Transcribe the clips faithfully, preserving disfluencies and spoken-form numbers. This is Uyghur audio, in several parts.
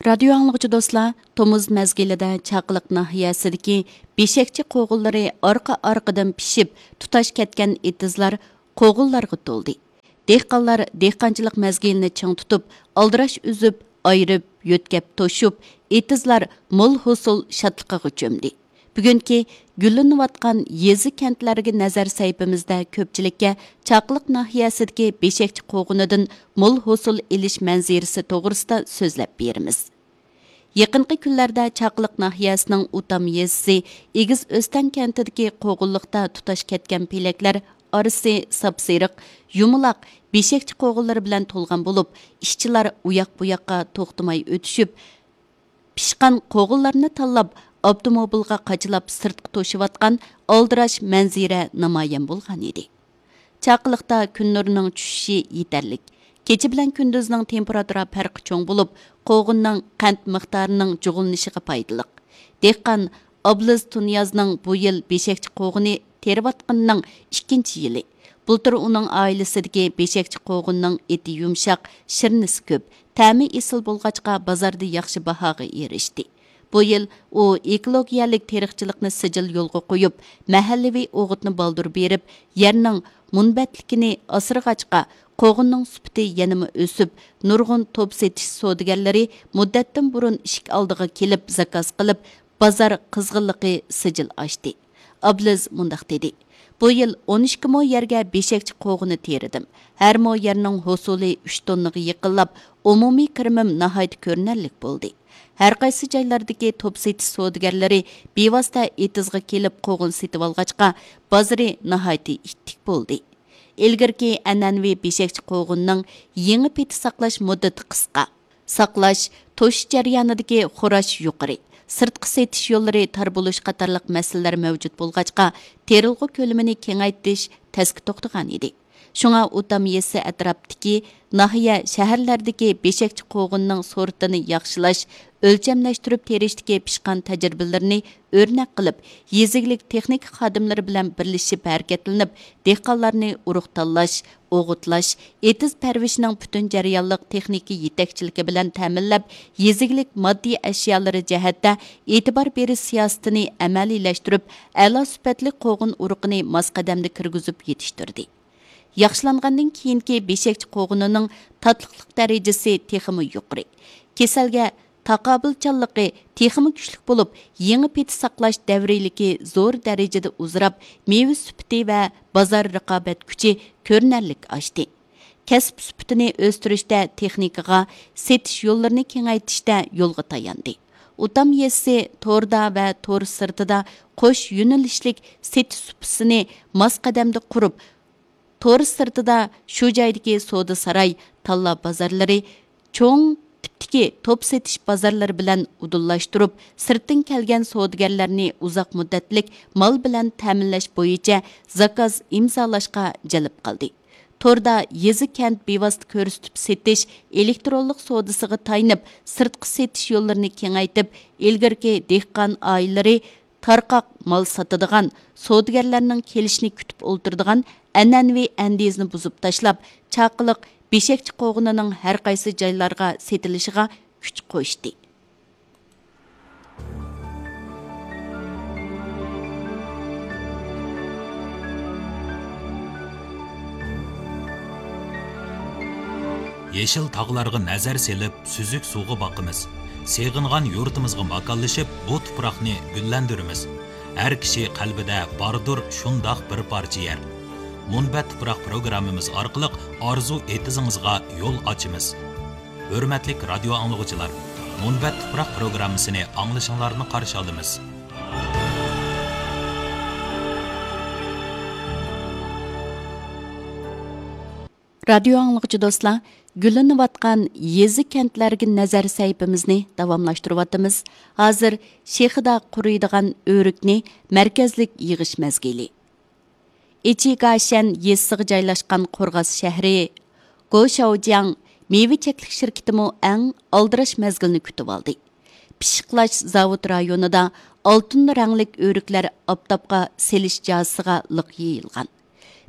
رادىيو ئاڭلىغۇچى دوستلار، تومۇز مەزگىلىدە چاقىلىق ناھىيەسىدىكى بېشەكچە قوغۇنلىرى ئارقا-ئارقىدىن پىشىپ، تۇتاش كەتكەن ئېتىزلار قوغۇنلارغا تولدى. دېھقانلار دېھقانچىلىق مەزگىلىنى چىڭ تۇتۇپ، ئالدىراش ئۈزۈپ، ئايرىپ، يۆتكەپ توشۇپ، ئېتىزلار مول ھوسۇل شادلىقىغا چۆمدى. بۈگۈنكى گۈللىنىۋاتقان يېزا-كەنتلەرگە نەزەر سەھىپىمىزدە كۆپچىلىككە چاقىلىق ناھىيەسىدىكى بېشەكچە قوغۇنىدىن مول ھوسۇل ئېلىش مەنزىرىسى توغرىسىدا سۆزلەپ بېرىمىز. يېقىنقى كۈنلەردە چاقىلىق ناھىيەسىنىڭ ئۇتام يېزىسى ئېگىز ئۆستەڭ كەنتىدىكى قوغۇنلۇقتا تۇتاش كەتكەن پېلەكلەر ئارىسى ساپسېرىق، يۇمىلاق بېشەكچە قوغۇنلىرى بىلەن تولغان بولۇپ، ئىشچىلار ئۇياق-بۇياققا توختىماي ئۆتۈشۈپ، پىشقان قوغۇنلارنى تاللاپ، ئاپتوموبىلغا قاچىلاپ سىرتقا توشۇۋاتقان ئالدىراش مەنزىرە نامايان بولغان ئىدى. چاقىلىقتا كۈن نۇرىنىڭ چۈشۈشى يېتەرلىك. كېچە بىلەن كۈندۈزنىڭ تېمپېراتۇرا پەرقى چوڭ بولۇپ، قوغۇننىڭ قەنت مىقدارىنىڭ جۇغلىنىشىغا پايدىلىق. دېھقان ئابلىز تۇنىيازنىڭ بۇ يىل بېشەكچە قوغۇنى تېرىۋاتقىنىنىڭ ئىككىنچى يىلى. بۇلتۇر ئۇنىڭ ئائىلىسىدىكى بېشەكچە قوغۇننىڭ ئېتى يۇمشاق، شىرنىسى كۆپ، تەمى ئېسىل بولغاچقا، بازاردا ياخشى باھاغا ئېرىشتى. بۇ يىل ئۇ ئېكولوگىيەلىك تېرىقچىلىقنى سىجىل يولغا قويۇپ، مەھەللىۋى ئوغۇتنى بالدۇر بېرىپ، يەرنىڭ مۇنبەتلىكىنى ئاسرىغاچقا، قوغۇننىڭ سۈپىتى يەنىمۇ ئۆسۈپ، نۇرغۇن توپ سېتىش سودىگەرلىرى مۇددەتتىن بۇرۇن ئىشىك ئالدىغا كېلىپ زاكاز قىلىپ، بازار قىزغىنلىقى سىجىل ئاشتى. ئابلىز مۇنداق دېدى: بۇ يىل ئون ئىككى مو يەرگە بېشەكچە قوغۇنى تېرىدىم. ھەر مو يەرنىڭ ھوسۇلى ئۈچ توننىغا يېقىنلاپ، ئومۇمىي كىرىمىم ناھايىتى كۆرۈنەرلىك بولدى. ھەر قايسى جايلاردىكى توپ سېتىش سودىگەرلىرى بىۋاسىتە ئېتىزغا كېلىپ قوغۇن سېتىۋالغاچقا، بازىرى ناھايىتى ئىتتىك بولدى. ئىلگىرىكى ئەنئەنىۋى بېشەكچە قوغۇننىڭ يېڭى پېتى ساقلاش مۇددىتى قىسقا. ساقلاش، توشۇش جەريانىدىكى خوراش يۇقىرى، سىرتقا سېتىش يوللىرى تار بولۇش قاتارلىق مەسىلىلەر مەۋجۇت بولغاچقا، تېرىلغۇ كۆلىمىنى كېڭەيتىش تەسكە توختىغان ئىدى. شۇڭا ئۇتام يېزىسى ئەتراپتىكى ناھىيە، شەھەرلەردىكى بېشەكچە قوغۇننىڭ سورتىنى ياخشىلاش، ئۆلچەملەشتۈرۈپ تېرىشتىكى پىشقان تەجرىبىلىرىنى ئۆرنەك قىلىپ، يېزا ئىگىلىك تېخنىكا خادىملىرى بىلەن بىرلىشىپ ھەرىكەتلىنىپ، دېھقانلارنى ئۇرۇق تاللاش، ئوغۇتلاش، ئېتىز پەرۋىشىنىڭ پۈتۈن جەريانلىق تېخنىكا يېتەكچىلىكى بىلەن تەمىنلەپ، يېزا ئىگىلىك ماددىي ئەشيالىرى جەھەتتە ئېتىبار بېرىش سىياسىتىنى ئەمەلىيلەشتۈرۈپ، ئەلا سۈپەتلىك قوغۇن ئۇرۇقىنى ماس قەدەمدە كىرگۈزۈپ يېتىشتۈردى. ياخشىلانغاندىن كېيىنكى بېشەكچە قوغۇنىنىڭ تاتلىقلىق دەرىجىسى تېخىمۇ يۇقىرى. كېسەلگە تاقابىلچانلىقى تېخىمۇ كۈچلۈك بولۇپ، يېڭى پېتى ساقلاش دەۋرىيلىكى زور دەرىجىدە ئۇزىراپ، مېۋە سۈپىتى ۋە بازار رىقابەت كۈچى كۆرۈنەرلىك ئاشتى. كەسىپ سۈپىتىنى ئۆستۈرۈشتە تېخنىكىغا، سېتىش يوللىرىنى كېڭەيتىشتە يولغا تاياندى. ئۇتام يېزىسى توردا ۋە تور سىرتىدا قوش يۆنىلىشلىك سېتىش سۇپىسىنى ماس قەدەمدە قۇرۇپ، تور سىرتىدا شۇ جايدىكى سودا ساراي، تاللا بازارلىرى، چوڭ تىپتىكى توپ سېتىش بازارلىرى بىلەن ئۇدۇللاشتۇرۇپ، سىرتتىن كەلگەن سودىگەرلەرنى ئۇزاق مۇددەتلىك مال بىلەن تەمىنلەش بويىچە زاكاز ئىمزالاشقا جەلپ قىلدى. توردا يېزا، كەنت بىۋاسىتە كۆرسىتىپ سېتىش ئېلېكترونلۇق سودىسىغا تايىنىپ، سىرتقا سېتىش يوللىرىنى كېڭەيتىپ، ئىلگىرىكى دېھقان ئائىلىلىرى تارقاق مال ساتىدىغان، سودىگەرلەرنىڭ كېلىشىنى كۈتۈپ ئولتۇرىدىغان ئەنئەنىۋى ئەندىزىنى بۇزۇپ تاشلاپ، چاقىلىق بېشەكچە قوغۇنىنىڭ ھەر قايسى جايلارغا سېتىلىشىغا كۈچ قوشتى. يېشىل تاغلارغا نەزەر سېلىپ، سۈزۈك سۇغا باقىمىز. سېغىنغان يۇرتىمىزغا ماكانلىشىپ، بۇ تۇپراقنى گۈللەندۈرىمىز. ھەر كىشى قەلبىدە باردۇر شۇنداق بىر پارچە يەر. مۇنبەت تۇپراق پروگراممىمىز ئارقىلىق ئارزۇ ئېتىزىڭىزغا يول ئاچىمىز. ھۆرمەتلىك رادىيو ئاڭلىغۇچىلار، مۇنبەت تۇپراق پروگراممىسىنى ئاڭلىشىڭلارنى قارشى ئالىمىز. رادىيو ئاڭلىغۇچى دوستلار، گۈللىنىۋاتقان يېزا، كەنتلەرگە نەزەر سەھىپىمىزنى داۋاملاشتۇرۇۋاتىمىز. ھازىر شېخىدا قۇرۇيدىغان ئۆرۈكنى مەركەزلىك يىغىش مەزگىلى. ئىچىگاشەن يېزىسىغا جايلاشقان قورغاس شەھىرى گوشاۋجياڭ مېۋە چەكلىك شىركىتىمۇ ئەڭ ئالدىراش مەزگىلنى كۈتۈۋالدى. پىششىقلاش زاۋۇت رايونىدا ئالتۇن رەڭلىك ئۆرۈكلەر ئاپتاپقا سېلىش جازىسىغا لىق يېيىلغان.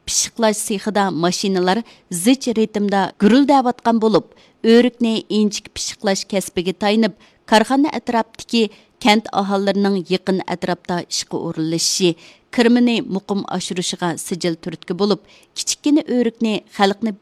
پىششىقلاش سېخىدا ماشىنىلار زىچ رىتىمدا گۈرۈلدەۋاتقان بولۇپ، ئۆرۈكنى ئىنچىكە پىششىقلاش كەسپىگە تايىنىپ، كارخانا ئەتراپتىكى كەنت ئاھالىلىرىنىڭ يېقىن ئەتراپتا ئىشقا ئورۇنلىشىشى، كىرىمىنى مۇقىم ئاشۇرۇشىغا سىجىل تۈرتكە بولۇپ، كىچىككىنە ئۆرۈكنى خەلقنى